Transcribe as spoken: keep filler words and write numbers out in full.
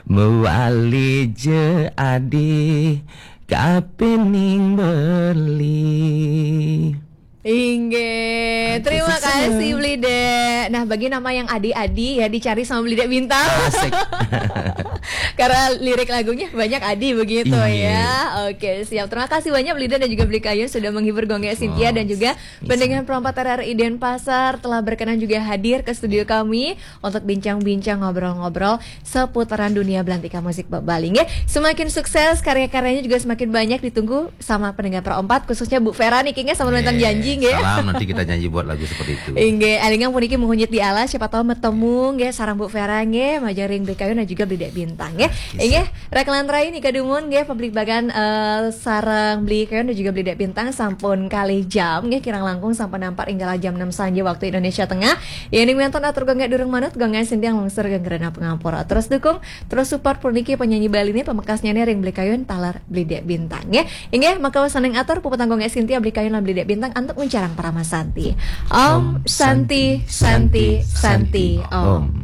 Mewali je adi kapining beli. Inggih, terima kasih Beli Dek. Nah, bagi nama yang adi-adi ya, dicari sama Beli Dek Bintang. Asik. Karena lirik lagunya banyak adi begitu Iya. Ya. Oke, siap. Terima kasih banyak Beli Dek dan juga Beli Kayun sudah menghibur Gong Gek Sintia dan juga pendengar Pro empat R R I Denpasar telah berkenan juga hadir ke studio kami untuk bincang-bincang, ngobrol-ngobrol seputaran dunia belantika musik Bali nggih. Semakin sukses, karya-karyanya juga semakin banyak ditunggu sama pendengar Pro empat, khususnya Bu Vera nih, kayaknya sama nonton Eh, janji nggih. Salam, nanti kita janji buat lagu seperti itu. Inggih, élingang puniki muhun nyit di alas, siapa tahu metemu nggih sareng Bu Vera nggih, majeng ring Beli Kayun dan juga Beli Dek Bintang nggih. Inggih, rek lan rai nika dumun nggih, pabligbagan eh, sareng Beli Kayun dan juga Beli Dek Bintang sampun kalih jam nggih, kirang langkung sampun nampar ing galah jam enam sanja waktu Indonesia Tengah. Yéning wénten atur Gong Gek durung manut, Gong Gek Sintia nglungsur geng rena pangapura. Terus dukung, terus support puniki penyanyi Bali nih, pamekasnya nih ring Beli Kayun taler Beli Dek Bintang nggih. Inggih, maka wasaning atur puputang Gong Gek Sintia, Beli Kayun lan Beli Dek Bintang antuk nguncarang parama santi. Om Santi, Santi, Santi, Om.